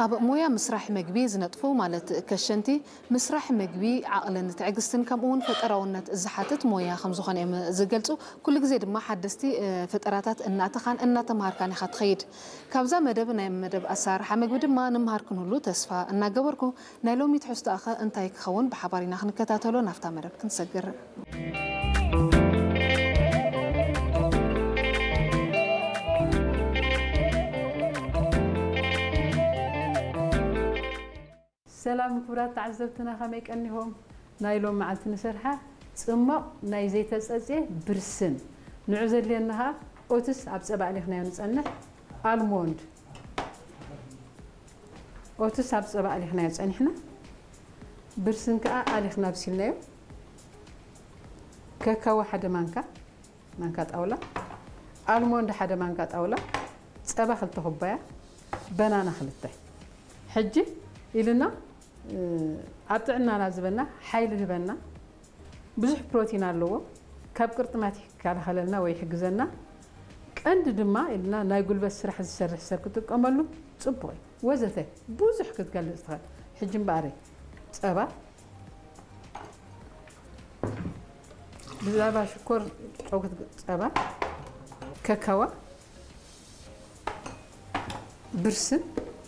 ኣብ ሞያ ምስራሕ መግቢ ዝነጥፉ፣ ማለት ከሸንቲ፣ ምስራሕ መግቢ ዓቕልን ትዕግስትን ከምኡ እውን ፈጠራውነት ዝሓትት ሞያ ከም ዝኾነ እዮም ዝገልጹ። ኩሉ ግዜ ድማ ሓደስቲ ፈጠራታት እናእተኻን እናተምሃርካን ኢኻ ትኸይድ። ካብዛ መደብ ናይ መደብ ኣሰራርሓ መግቢ ድማ ንመሃር ክንህሉ ተስፋ እናገበርኩ፣ ናይ ሎሚ ትሕዝቶኣኸ እንታይ ክኸውን ብሓባር ኢና ክንከታተሎ ናብታ መደብ ክንሰግር። ሰላም ክቡራት ተዓዘብትና፣ ከመይ ቀኒኹም? ናይ ሎም መዓልቲ ንሰርሓ ጽሞቕ ናይ ዘይተጸጽየ ብርስን። ንዑ ዘድልየና ኸኣ ኦትስ ኣብ ጸባ ኣሊኽናዮ ንጸንሕ፣ ኣልሞንድ። ኦትስ ኣብ ጸባ ኣሊኽናዮ ጸኒሕና፣ ብርስን ከኣ ኣሊኽና ኣብሲልናዮ። ከካዎ ሓደ ማንካ፣ ማንካ ጣውላ፣ ኣልሞንድ ሓደ ማንካ ጣውላ፣ ጸባ ክልተ ኩባያ፣ በናና ክልተ። ሕጂ ኢልና ኣብ ጥዕናና ዝበና ሓይሊ ህበና። ብዙሕ ፕሮቲን ኣለዎ። ካብ ቅርጥማት ይከላኸለልና ወይ ይሕግዘና። ቀንዲ ድማ ኢልና ናይ ጉልበት ስራሕ ዝሰርሕ ሰብ ክጥቀመሉ ጽቡቕ እዩ። ወዘተ ብዙሕ ክትገልጽ ትኽእል። ሕጂ እምበኣር ጸባ ብዛዕባ ሽኮር ጨው ክትግ- ጸባ ከካዋ ብርስን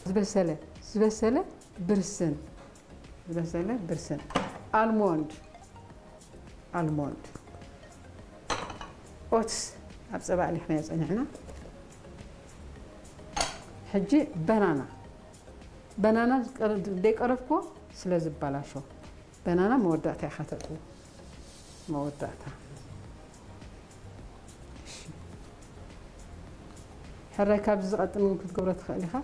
ዝበሰለ ዝበሰለ ብርስን ዝበሰለ ብርስን ኣልሞንድ ኣልሞንድ ኦትስ ኣብ ጸባ ኣሊኽናዮ ጸኒሕና። ሕጂ በናና በናና ዝቀረ- ዘይቀረፍኩዎ ስለ ዝበላሾ በናና መወዳእታ ኢኻ ተእትዎ። መወዳእታ። እሺ። ሕራይ ካብዚ ዝቐጥን እውን ክትገብሮ ትኽእል ኢኻ።